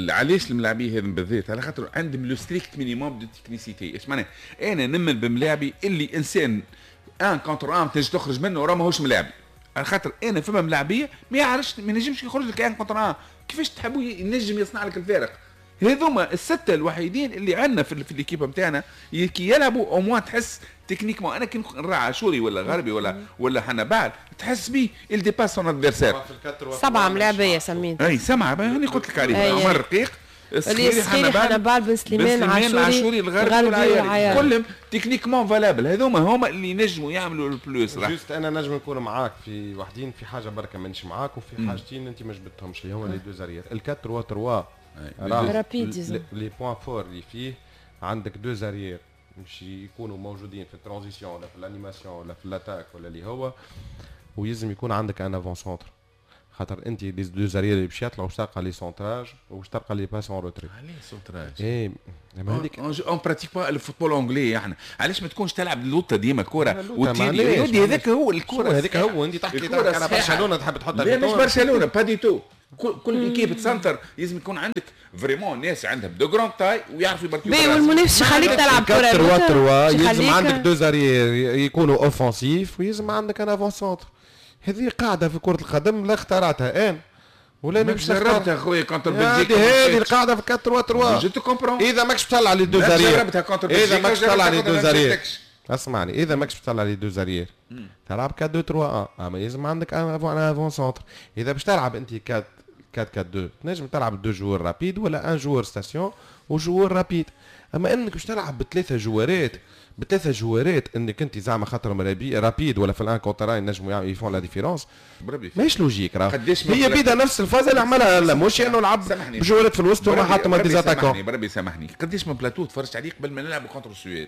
علاش الملاعبيه هذم بالذات، على خاطر عندهم le strict minimum de technicité. ايش معناه؟ انا نمن بملاعبي اللي انسان un contre un تنجم تخرج منه راه ماهوش ملاعبي، على خاطر انا فما ملاعبيه ما يعرفش ما ينجمش يخرج لك un contre un، كيفاش تحبوا ينجم يصنع لك الفارق؟ هذوما الستة الوحيدين اللي عندنا في, في l'équipe نتاعنا كي يلعبوا au moins تحس techniquement. انا كي نرى عاشوري ولا غربي ولا ولا حنبعل تحس بيه il dépasse son adversaire. سبعة ملاعبيه سميت. اي سبعة هاني قلت لك عليهم، عمر رقيق، السخيري، حنبعل، بن سليمان، عاشوري، عاشوري، الغربي والعياري، كلهم techniquement valables. هذوما هما اللي ينجموا يعملوا ال plus. juste انا نجم نكون معاك في وحدين، في حاجة بركة مانيش معاك، وفي حاجتين انت ما جبتهمش اللي هما les deux arrières. ال quatre trois rapides les points forts اللي فيه عندك deux arrières باش يكونوا موجودين في ال transition ولا في ال animation ولا في l'attaque ولا اللي هو، ويلزم يكون عندك un avant-centre، خاطر انت les deux arrières اللي باش يطلعوا باش تلقى les centrages وباش تلقى les passes en retrait. علاش centrage؟ اي ما هذيك on pratique pas ال football anglais. احنا علاش ما تكونش تلعب لوطه ديما كره وتيري؟ هذاك هو الكره، هذاك هو. انت تحكي تحكي على برشلونة تحب تحطها؟ لا مش برشلونة pas du tout. كل équipe تسنتر لازم يكون عندك vraiment ناس عندهم de grandes tailles ويعرفوا يماركيو. بي والمنافس يخليك تلعب كره ثلاثة ثلاثة، يلزم عندك deux arrières يكونوا offensifs ويلزم عندك un avant-centre. هذه قاعدة في كره القدم لا اخترعتها انا ولا مش جربتها خويا contre بلجيكا. هذه القاعدة في أربعة ثلاثة ثلاثة. je te comprends. اذا ماكش تطلع les deux arrières، جربتها contre بلجيكا. اذا ماكش تطلع les deux arrières، اسمعني، اذا ماكش تطلع les deux arrières تلعب أربعة اثنين ثلاثة واحد، اما لازم عندك un avant-centre. اذا باش تلعب انت أربعة أربعة اثنين تنجم تلعب deux joueurs rapides ولا un joueur station و joueur rapide. اما انك باش تلعب بثلاثة جوارات بثلاثة جوارات انك انت زعما خاطر rapide ولا في ال un contre un ينجموا ils font la différence، ماهيش logique. راه هي بيدا نفس الفازة اللي عملها لا مش انه لعب بجوارات في الوسط وما حط ما des attaquants. بربي سامحني، قداش من بلاتو تفرجت عليه قبل ما نلعبوا contre السويد؟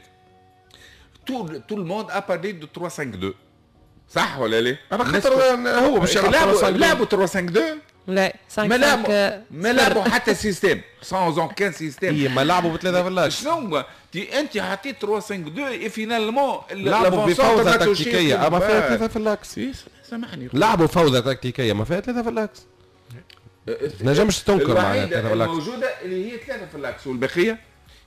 tout tout le monde a parlé de ثلاثة خمسة اثنين، صح ولا لا؟ انا خاطر هو باش يلعبوا لعبوا ثلاثة خمسة اثنين. لا ما لعبوا ما لعبوا حتى système sans aucun système. هي ما لعبوا بثلاثة في l'axe. شنو انت حطيت ثلاثة خمسة اثنين finalement لعبوا بفوضى تكتيكية اما فيها ثلاثة في l'axe. سامحني، لعبوا فوضى تكتيكية ما فيها ثلاثة في l'axe. نجمش تنكر معناها ثلاثة في l'axe الموجودة اللي هي ثلاثة في l'axe والبقية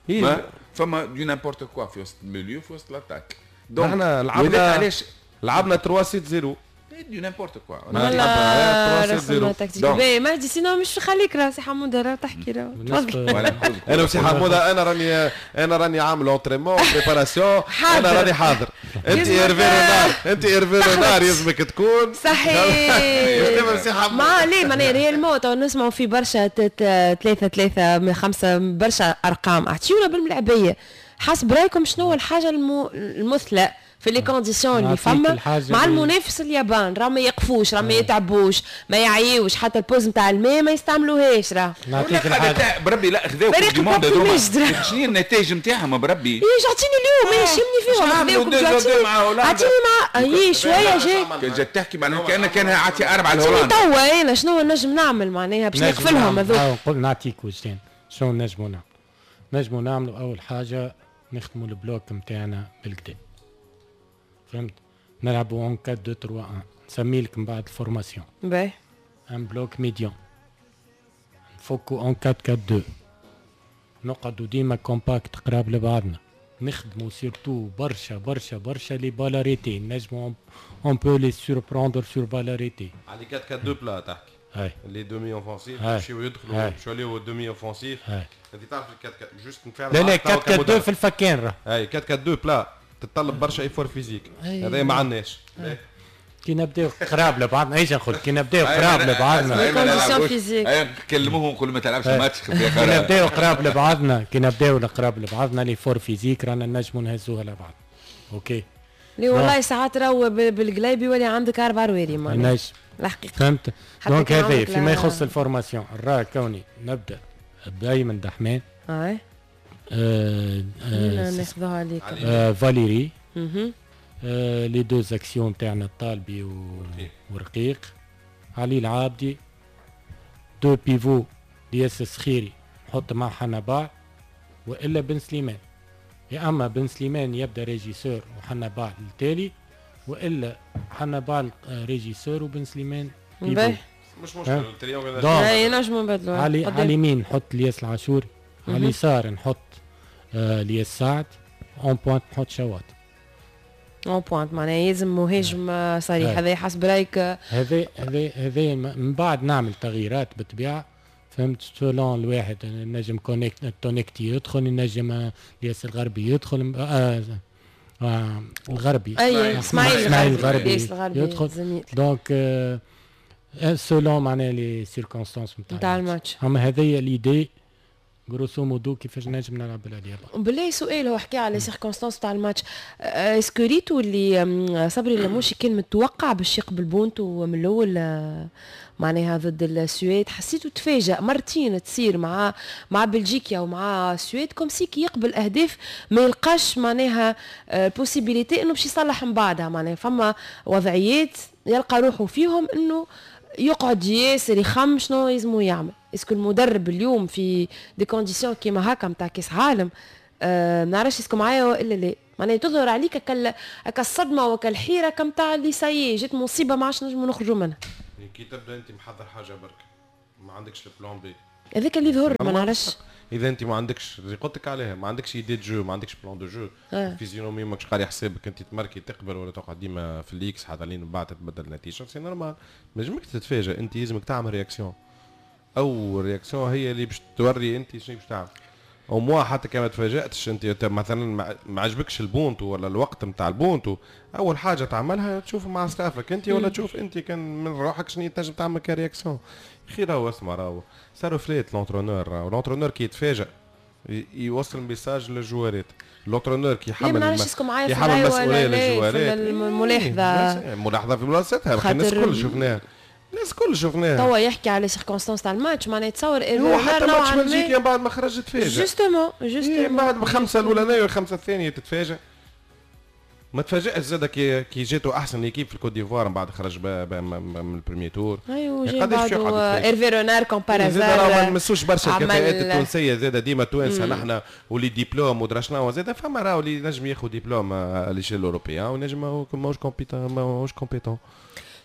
هي فما du n'importe quoi في وسط ال milieu في وسط l'attaque. donc احنا لعبنا علاش لعبنا ثلاثة ستة صفر du n'importe quoi. والله رسمنا تكتيك باهي مهدي، sinon مش خليك راه سي حموده راه تحكي راه تفضل. انا وسي حموده انا راني انا راني عامل entraînement préparation، انا راني حاضر. انت ايرفي رونار، انت ايرفي رونار يلزمك تكون صحيح. ما ليه معناها réellement تو نسمعوا في برشا ثلاثة ثلاثة من خمسة برشا ارقام، اعطيونا بالملعبيه حسب رايكم شنو الحاجة المثلى في les conditions اللي فما مع المنافس اليابان؟ راه ما يقفوش، راه ما يتعبوش، ما يعيوش، حتى ال pause نتاع الماء ما يستعملوهاش. راه نعطيك الحاجة بربي لا خذاو coupe du monde هذوما، شنو هي النتائج نتاعهم بربي؟ ايش اعطيني اليوم ماشي يهمني فيهم، اعطيني مع اي شوية جاي كان جات تحكي معناها كان كان عاطي اربعة لهولندا. توا انا شنو نجم نعمل معناها باش نقف لهم هذوك؟ نقول نعطيك وجدان شنو نجمو نعمل. نجمو نعملوا اول حاجة نخدموا ال bloc نتاعنا بالكدا، فهمت؟ نلعبوا en أربعة اثنين ثلاثة واحد، نسمي لك من بعد ال formation. باهي un bloc médian، نفكوا en أربعة أربعة اثنين، نقعدوا ديما compacts قراب لبعضنا، نخدموا surtout برشا برشا برشا les balles arrêtées، نجموا on peut les surprendre sur balle arrêtée. على أربعة أربعة اثنين plat تحكي. هاي les demi offensifs يمشيو يدخلوا يمشيو les demi offensifs. انت تعرف أربعة juste نفعل لا لا أربعة أربعة اثنين في الفكان راه. اي أربعة أربعة اثنين plat تتطلب برشا effort physique، هذا ما عندناش. كي نبداو قراب لبعضنا، ايش نقول، كي نبداو قراب لبعضنا condition physique، كلموهم نقولوا ما تلعبش ماتش. كي نبداو قراب لبعضنا، كي نبداو قراب لبعضنا l'effort physique رانا نجموا نهزوها لبعض. OK لي والله ساعات راهو بالقلايب يولي عندك اربع رواري معناها الحقيقة، فهمت. donc هذا فيما يخص ال formation، راه كوني نبدا بايمن دحمان، اي آه ناخذوها عليك، آه فاليري، آه les deux axiaux تاعنا الطالبي ورقيق، علي العابدي، deux pivots الياس السخيري نحط مع حنبعل والا بن سليمان، يا اما بن سليمان يبدا régisseur وحنبعل التالي، والا حنبعل régisseur وبن سليمان pivot. مش مشكل ال triangle اي نجمو نبدلو. علي على اليمين نحط الياس العاشوري، على اليسار نحط آه الياس سعد، en pointe نحط شواط. en pointe معناها يلزم مهاجم صريح. هذا حسب رايك؟ هذا هذا هذا من بعد نعمل تغييرات بالطبيعة، فهمت، selon الواحد نجم كونيكت تونكتي يدخل، نجم الياس الغربي يدخل، آه آه الغربي اي اسماعيل الغربي يدخل، donc آه selon معناها les circonstances نتاع الماتش. اما هذه l'idée grosso modo كيفاش نجم نلعب بالاليابه. بالله سؤال، هو حكى على circonstances تاع الماتش، est-ce que ريتو اللي صبري لموشي كان متوقع باش يقبل بونتو من الاول معناها ضد السويد؟ حسيته تفاجأ مرتين تصير مع مع بلجيكا ومع السويد، comme si كي يقبل اهداف ما يلقاش معناها possibilité انه باش يصلح من بعدها، معناها فما وضعيات يلقى روحه فيهم انه يقعد ياسر يخم شنو يلزمو يعمل. est-ce que المدرب اليوم في des conditions كيما هكا نتاع كاس عالم، آه نعرفش est-ce que معايا والا لا، معناها تظهر عليك هكا الصدمة وكالحيره كم تاع اللي ça y est جات مصيبة ما عادش نجمو نخرجوا منها. كي تبدا انت محضر حاجة برك ما عندكش ال plan B، هذاك اللي يظهر ما نعرفش. اذا انت ما عندكش اللي قلت لك عليها، ما عندكش idée de jeu، ما عندكش plan de jeu، physionomie ماكش قاري حسابك انت تماركي تقبل ولا تقعد ديما في ال X حتى لين من بعد تتبدل النتيجة، c'est normal ما لازمك تتفاجئ، انت لازمك تعمل réaction، او réaction هي اللي باش توري انت شنو باش تعمل. au moins حتى كان ما تفاجاتش انت مثلا ما عجبكش البونتو ولا الوقت نتاع البونتو، اول حاجة تعملها تشوف مع staff ك انت ولا تشوف انت كان من روحك شنو تنجم تعمل ك réaction. خي راهو اسمع راهو ça reflète l'entraîneur، راهو l'entraîneur كي يتفاجئ يوصل message للجوارات، l'entraîneur كي يحمل يحمل المسؤولية للجوارات. الملاحظة الملاحظة في بلاصتها، الناس الكل شفناها، الناس الكل شفناها. توا يحكي على circonstances تاع الماتش، معناها تصور هو حتى ماتش بلجيكا من بعد ما خرج تفاجئ. justement justement من بعد بخمسة الاولانية والخمسة الثانية تتفاجئ. ما تفاجئش زاد كي كي جاتو احسن équipe في الكوت ديفوار من بعد خرج من ال premier tour. ايوا جاي بعدو ايرفي رونار comme par hasard. زاد ما نمسوش برشا الكفاءات التونسية، زاد ديما توانسة نحن و les diplômes ودرا شنو، زاد فما راهو اللي نجم ياخذ diplôme à l'échelle européenne ونجم ماهوش compétent، ماهوش compétent.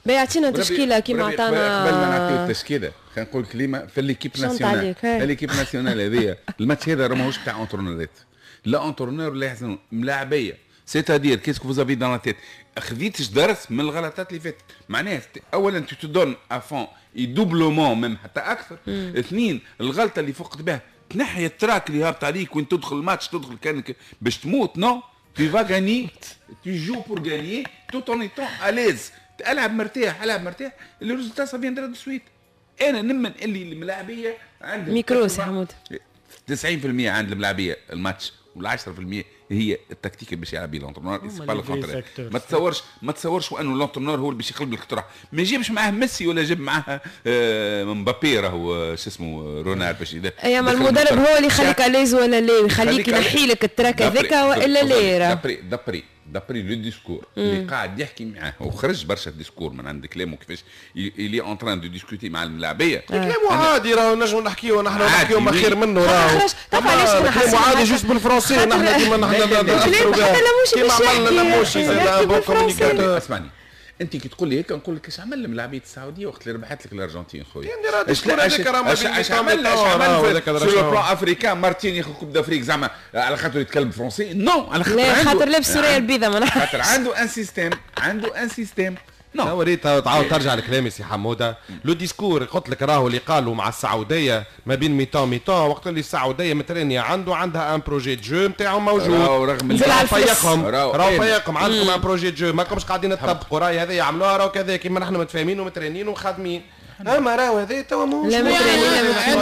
بيعطينا تشكيله كيما عطانا. قبل ما نعطيو التشكيلة خلينا نقول كلمة في l'équipe nationale. l'équipe nationale هذيا الماتش هذا راه ماهوش تاع entraîneur ات، لا entraîneur لا يحزنون، ملاعبيه. c'est-à-dire qu'est-ce que vous avez dans la tête، خذيتش درس من الغلطات اللي فاتت، معناها اولا tu te donnes à fond et doublement même حتى اكثر. اثنين الغلطة اللي فقت بها تنحي ال trac اللي هابط عليك وين تدخل الماتش تدخل كانك باش تموت. non tu vas gagner، tu joues pour gagner tout en étant à l'aise، العب مرتاح، العب مرتاح، le résultat ça viendra de suite. انا نمن اللي الملاعبيه عندهم ميكرو سي حمود تسعين بالمية عند الملاعبيه الماتش والعشرة في المية هي التكتيك اللي باش يلعب به l'entraîneur. c'est pas le contraire. ما تصورش ما تصورش انه l'entraîneur هو اللي باش يقلب لك الطرح، ما يجيبش معاه ميسي ولا جاب معاه آه مبابي راهو شو اسمه رونار باش اي اما المدرب هو اللي يخليك à l'aise ولا لا، يخليك ينحي لك ال trac هذاك والا لا. d'après d'après d'après le discours اللي قاعد يحكي معاه وخرج برشا discours من عند كلامه كيفاش il est en train de discuter مع الملاعبيه. كلامه عادي راهو نجمو نحكيو نحن نحكيو ما خير منه راهو. تعرف علاش كلامه عادي juste بالفرنسي، نحن ديما نحن حتى لموشي كيما عملنا لموشي زاد bon communicateur. اسمعني انت كي تقول لي هيك نقول لك اش عمل الملاعبيه السعودية وقت اللي ربحت لك الارجنتين خويا؟ اش اش اش عمل اش عمل sur le plan africain مارتين ياخذ Coupe d'Afrique زعما على خاطر يتكلم français؟ non، على خاطر عنده خاطر لابس سورية البيضاء، خاطر عنده un système، عنده un système. non وريت تعاود ترجع لكلامي سي حموده. le discours قلت لك راهو اللي قالوا مع السعودية ما بين mi-temps mi-temps، وقت اللي السعودية مترينيا عنده عندها un projet de jeu نتاعو موجود، راهو رغم راهو فيقهم، راهو فيقهم عندكم un projet de jeu ماكمش قاعدين تطبقوا، راهي هذا يعملوها راهو كذا كيما نحن متفاهمين ومترينين وخادمين. اما راهو هذا توا ماهوش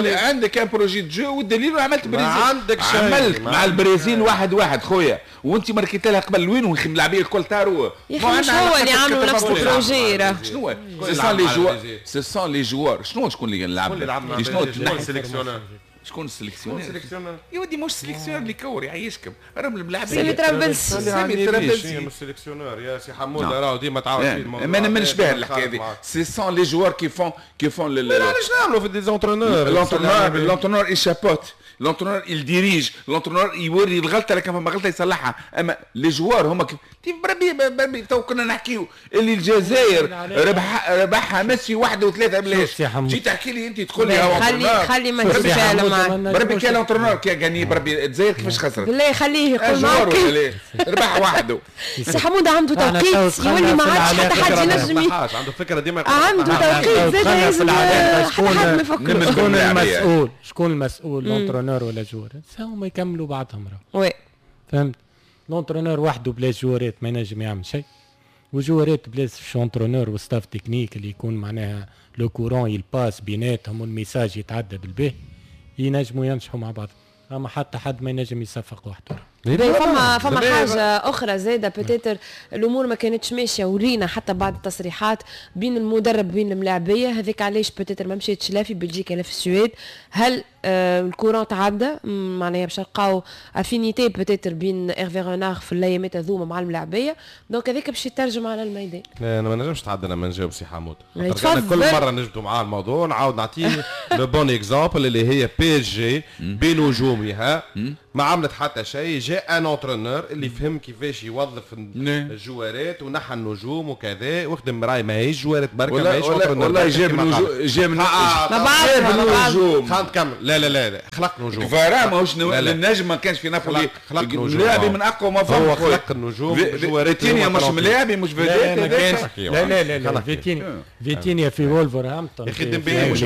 لا عندك un projet de jeu والدليل عملت برازيل، عندك شيء عملت مع البرازيل واحد واحد خويا، وانت ماركيت لها قبل وين واللاعبين الكل طاروا. يا اخي مش هو اللي عملوا نفس ال projet راه شنو ce sont les joueurs، ce sont les joueurs. شنو شكون اللي لعب؟ شنو ال sélectionneur؟ شكون ال sélectionneur؟ يا ودي مش sélectionneur اللي يكور يعيشكم، راهم الملاعبين. سامي ترابلسي، سامي ترابلسي مش sélectionneur يا سي حموده، راهو ديما تعاود فيه الموضوع. ما نمنش بها الحكاية هذه، ce sont les joueurs qui font qui font علاش نعملوا في des entraîneurs؟ l'entraîneur l'entraîneur il chapeaute، l'entraîneur il dirige، l'entraîneur يوري الغلطة لكن فما غلطه يصلحها، اما les joueurs هما كيف بربي بربي تو كنا نحكيو اللي الجزائر ربح ربحها ميسي واحد وثلاثة بلاش، جيت تحكي لي انت تقول لي هو خلي خلي ما نتفاعل معاك بربي كان l'entraîneur qui a gagné بربي الجزائر كيفاش خسرت؟ بالله خليه يقول معاك ربح وحده. سي حموده عنده توقيت يولي ما عادش حتى حد ينجم، عنده فكرة ديما عنده توقيت زاد لازم حتى حد ما يفكر. شكون المسؤول؟ شكون المسؤول l'entraîneur ولا joueur؟ هما يكملوا بعضهم راه. oui فهمت؟ l'entraîneur وحده بلا جوارات ما ينجم يعمل شيء، وجوارات بلا entraîneur و staff technique اللي يكون معناها le courant il passe بيناتهم وال message يتعدى بالباهي، ينجموا ينجحوا مع بعض. اما حتى حد ما ينجم يصفق وحده. فما فما حاجة اخرى زاده peut-être الامور ما كانتش ماشية، ورينا حتى بعض التصريحات بين المدرب بين الملاعبيه، هذاك علاش peut-être ما مشيتش لا في بلجيكا لا في السويد. هل آه ال courant تعدى معناها باش نلقاو affinité peut-être بين ايرفي رونار في الايامات هذوما مع الملاعبيه، donc هذاك باش يترجم على الميدان. لا انا ما نجمش نتعدى لما نجاوب سي حمود، انا كل مرة نجبدوا معاه الموضوع نعاود نعطيه le bon exemple اللي هي PSG بنجومها ما عملت حتى شيء، جاء un entraîneur اللي فهم كيفاش يوظف الجوارات ونحى النجوم وكذا وخدم راي ماهيش جوارات بركة ماهيش entraîneur والله جاب نجوم جاب نجوم خلينا نكمل. لا لا لا لا خلق نجوم كفارا ماهوش النجم ما كانش في نابولي خلق نجوم لاعب من اقوى ما فما هو خلق النجوم فيتينيا مش ملاعبي مش vedette. لا لا لا لا فيتينيا فيتينيا في وولفرهامبتون يا اخي ديمبلي مش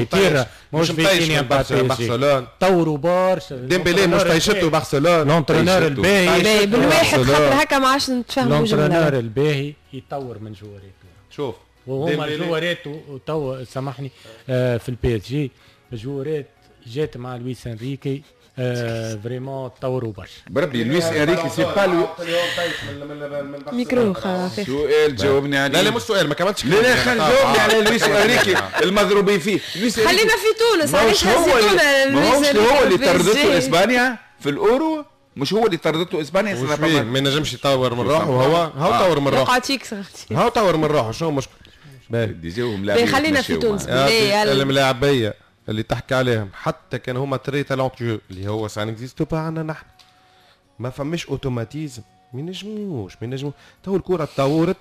مش فيتينيا برشلونة طوروا برشا ديمبلي مش طيشته برشلونة l'entraîneur الباهي بالواحد خاطر هكا ما عادش نتفاهموا. l'entraîneur الباهي يطور من جواريته شوف وهما جواريته تو سامحني آه في ال PSG جوارات جات مع لويس انريكي آه vraiment طوروا برشا. بربي لويس انريكي c'est pas le micro خافي سؤال جاوبني عليه. لا لا مش سؤال ما كملتش. لا لا خلينا جاوبني على لويس انريكي المضروبين فيه. خلينا في تونس علاش هزيتونا لويس انريكي؟ هو اللي طردته اسبانيا في الاورو، مش هو اللي طردته اسبانيا سنة ما ينجمش يطور من روحه وهو هو طور من روحه. هو طور من روحه شنو المشكل؟ باهي خلينا في تونس. الملاعبيه اللي تحكي عليهم حتى كان هما très talentueux اللي هو ça n'existe pas عندنا نحن، ما فماش automatisme، ما ينجموش ما ينجمو. تو الكره تطورت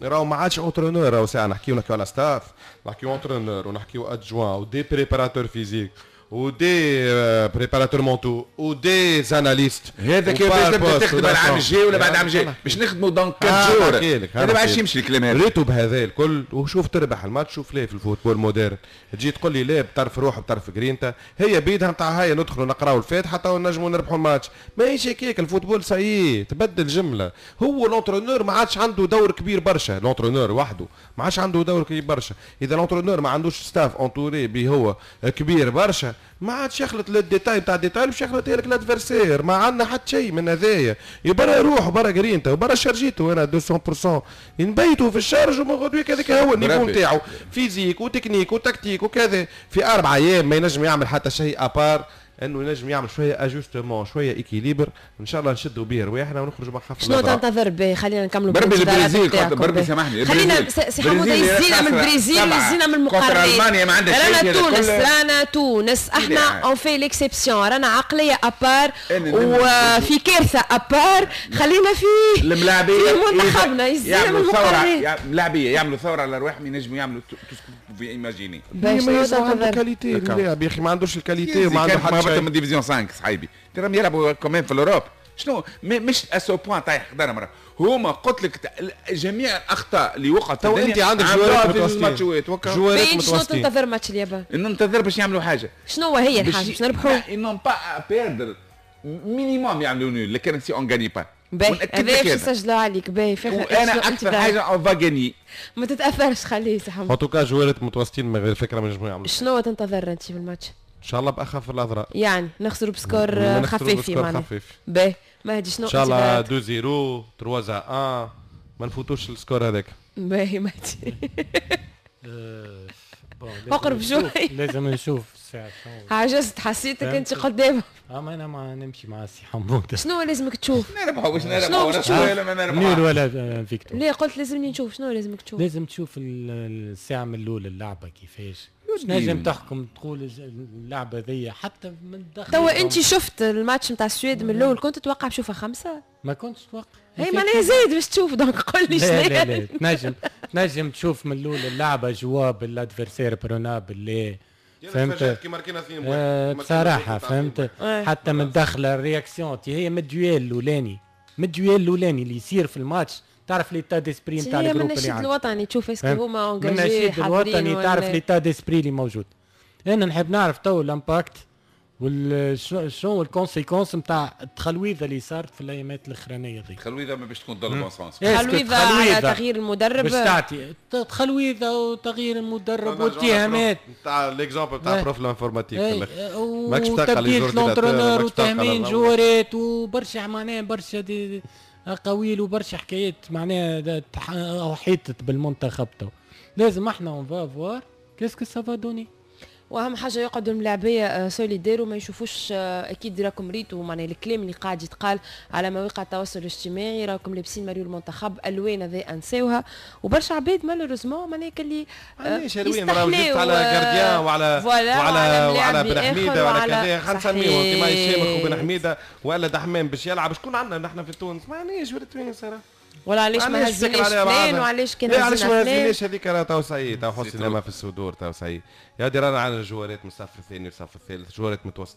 راهو ما عادش entraîneur، راهو ساعة نحكيو نحكيو على staff، نحكيو entraîneur ونحكيو adjoint و des préparateurs physiques و des préparateurs mentaux و des analystes. هذا كيفاش تبدا تخدم العام الجاي ولا بعد العام الجاي باش نخدموا dans quatre jours. هذا ما عادش يمشي الكلام هذا. ريتو بهذا الكل وشوف تربح الماتش شوف ليه في ال football moderne تجي تقول لي لا بطرف روح بطرف جرينتا هي بيدها نتاع هيا ندخلوا نقراو الفاتحة تو نجموا نربحوا الماتش. ماهيش هكاك ال football ça y est تبدل جملة. هو l'entraîneur ما عادش عنده دور كبير برشا، l'entraîneur وحده ما عادش عنده دور كبير برشا. اذا l'entraîneur ما عندوش staff entouré به هو كبير برشا ما عادش يخلط لل détail تاع ال détail باش يخلط لك l'adversaire. ما عندنا حتى شيء من هذايا. يبرا روح برا جرينتا وبرا شارجيتو انا مية بالمية نبيتو في ال charge ومن غدويك هذاك هو ال niveau نتاعو physique و technique و tactique وكذا. في اربع ايام ما ينجم يعمل حتى شيء à part انه ينجم يعمل شوية ajustement شوية équilibre ان شاء الله نشدوا به رواحنا ونخرجوا من خف. شنو تنتظر به؟ خلينا نكملوا بربي البرازيل بربي سامحني خلينا سي حموده يزينا من البرازيل ويزينا من المقارنات. المانيا ما عندها شيء. رانا تونس رانا تونس احنا on fait l'exception، رانا عقلية à part وفي كارثة à part. خلينا في الملاعبيه في منتخبنا يزينا من المقارنات. الملاعبيه يعملوا ثورة على رواحهم ينجموا يعملوا tout ce que vous imaginez. ما qualité اللاعب يا اخي ما عندوش ال qualité وما عنده حتى من division خمسة صاحبي تراهم يلعبوا quand même في l'Europe. شنو مش à ce point طايح قدر مرة هما قلت لك جميع الاخطاء اللي وقعت. تو انت عندك جوارات متوسطين، جوارات متوسطين. شنو تنتظر ماتش اليابان؟ ننتظر باش يعملوا حاجة. شنو هي الحاجة باش نربحوا؟ ils n'ont pas à perdre، minimum يعملوا nul، لكن si on gagne pas. باهي، هذا باش نسجلوا عليك. باهي. وانا اكثر حاجة on va gagner. ما تتاثرش، خليه سي en tout cas جوارات متوسطين من غير فكرة ما نجموا يعملوا. شنو تنتظر انت في الماتش؟ ان شاء الله باخف الاضرار. يعني نخسروا ب score خفيف. معناها خفيف. باهي مهدي، شنو؟ ان شاء الله اثنين صفر، ثلاثة واحد، ما نفوتوش ال score هذاك. باهي مهدي، اقرب شوي. لازم نشوف الساعة. عجزت، حسيتك انت قدام. اه ما انا ما نمشي مع السي حمود. شنو لازمك تشوف؟ نربحوا باش نربحوا ولا ما نربحوا. nul ولا victoire. ليه قلت لازمني نشوف؟ شنو لازمك تشوف؟ لازم تشوف الساعة من الاول اللعبة كيفاش نجم تحكم، تقول اللعبة ذي حتى من داخل. توا انت شفت الماتش نتاع السويد من الاول، كنت تتوقع بشوفها خمسة؟ ما كنتش اتوقع. هي معناها زايد باش تشوف، donc قول لي. شنو؟ لا لا، تنجم تنجم تشوف من الاول اللعبة jouable، l'adversaire prenable اللي فهمت كي ماركينا اثنين. آه بصراحة فهمت، حتى من داخل ال réaction هي من ال duel الاولاني، من ال duel الاولاني اللي يصير في الماتش تعرف l'état d'esprit نتاع ال groupe. اللي عندك الوطني تشوف est-ce que هما engagés. من النشيد الوطني تعرف l'état d'esprit اللي موجود. انا نحب نعرف تو l'impact شنو ال conséquences نتاع التخلويضه اللي صارت في الايامات الاخرانية دي. التخلويضه ما باش تكون dans le bon sens. تخلويضه على تغيير المدرب. باش تعطي تخلويضه وتغيير المدرب واتهامات. نتاع l'exemple نتاع prof l'informatique. وتبديل l'entraîneur وتهمين جوارات وبرشا معناها برشا des اقاويل وبرشا حكايات معناها احيطت بالمنتخب. تو لازم احنا on va voir qu'est-ce que ça va donner. واهم حاجة يقعدوا الملاعبيه solidaires وما يشوفوش. آه، اكيد راكم ريتوا معناها الكلام اللي قاعد يتقال على مواقع التواصل الاجتماعي، راكم لابسين مريول المنتخب، الوان هذا انساوها، وبرشا عباد malheureusement معناها كلي آه، علاش الوان؟ راهو juste على gardien وعلى وعلى وعلى بن حميده وعلى كذا، خلينا نسميهم كيما الشامخ وبن حميده ولا دحمان باش يلعب. شكون عندنا نحن في تونس؟ ما عندناش في تونس. ولا علاش ما هزيناش فلان وعلاش كان علاش ما هزيناش هذيك. راه تو ça y est، تو حسنا ما في الصدور، تو ça y est يا دي، رانا عندنا جوارات من الصف الثاني والصف الثالث، جوارات متوسطين.